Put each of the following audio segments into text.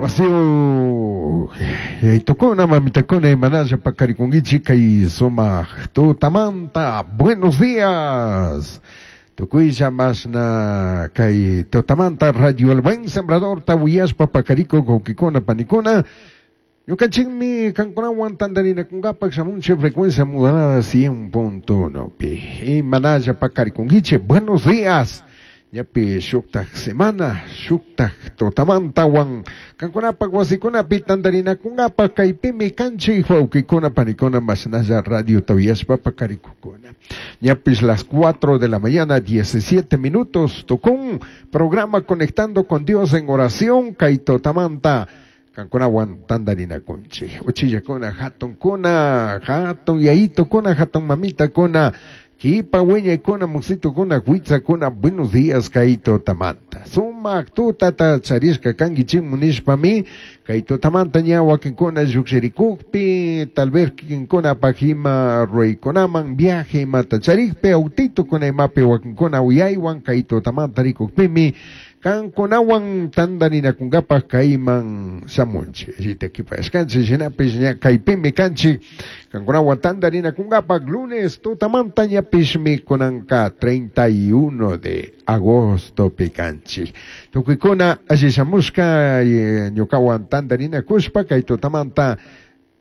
Wasiyu yaitukuna mamitakuna imanalla paqarikunkichik kay sumaq tutamanta. Buenos días. Tukuylla mashna kay tutamanta Radio El Buen Sembradorta uyashpa paqarikuq wawqikuna panikuna. Ñukanchikmi kankunawan tantarinakunkapak shamunchik frecuencia modulada 100.1 pi. Imanalla paqarikunkichik. Buenos días. Ñapi shuktak semana, shuktak tutamantawan kankunapak wasikunapi tantarinakunkapak kaypimi kanchik wawqikuna panikuna mashnalla radiota uyashpa paqarikukuna. Ñapis las 4 de la mañana, 17 minutos, tukun programa Conectando con Dios en oración, kay tutamanta kankunawan tantarinakunchik. Uchillakuna, hatunkuna, hatun yayitukuna, hatun mamitakuna, kipa wiñaykuna, musitukuna, huitzakuna, buenos días kay tutamanta. Sumak tutata charishka kankichikmu nishpami, kay tutamanta ña wakinkuna llukshirikukpi, tal vez kikinkunapak ima ruraykunaman viaje imata charikpi, autitukuna imapi wakinkuna uyaywan kay tutamanta rikukpimi, kankunawan tantarinakunkapak kayman shamunchik. Ritakipashkanchik, shinapish ña kaypimi kanchik, kankunawan tantarinakunkapak lunes tutamanta ñapishmi kunanka 31 de agosto pikanchik. Tukuykuna alli shamushka ñukawan tantarinakushpa kay tutamanta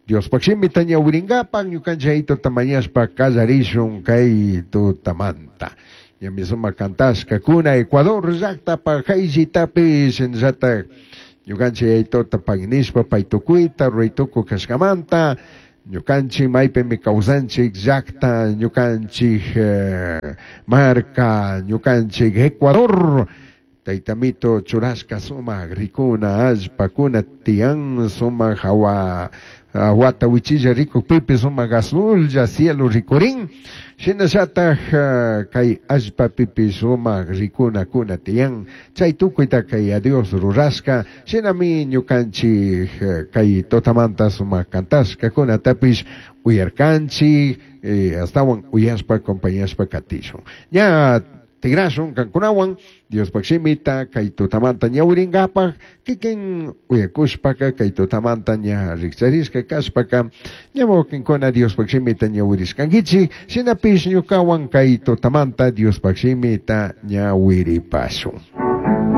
Diospaq shimita ñawirinkapak ñukanchik tutamañashpa kallarishun kay tutamanta. Ñami sumak kantashkakuna Ecuador llaktapak hayllitapish shinallatak ñukanchik yayituta pagui nishpa pay tukuyta ruraytukuy kashkamanta ñukanchik maypimi kawsanchik llakta ñukanchik marka ñukanchik Ecuador taytamito churashka sumak rikuna allpakuna tiyan sumak hawa wata wichilla rikukpipish sumak azullla cielo rikurin shinallatak kay allpapipish sumak rikunakuna tiyan chay tukuyta kay Dios rurashka shinami ñukanchik kay tutamanta sumak kantashkakunatapish uyarkanchik astawan uyashpa acompañashpa katishun. Ña tigrashun kankunawan Diospaq shimita kay tutamanta ñawirinkapak kikin uyakushpaka kay tutamanta ña rikcharishka kashpaka ña wakinkuna Diospaq shimita ñawirishkankichik shinapish ñukawan kay tutamanta Diospaq shimita ñawiripashun.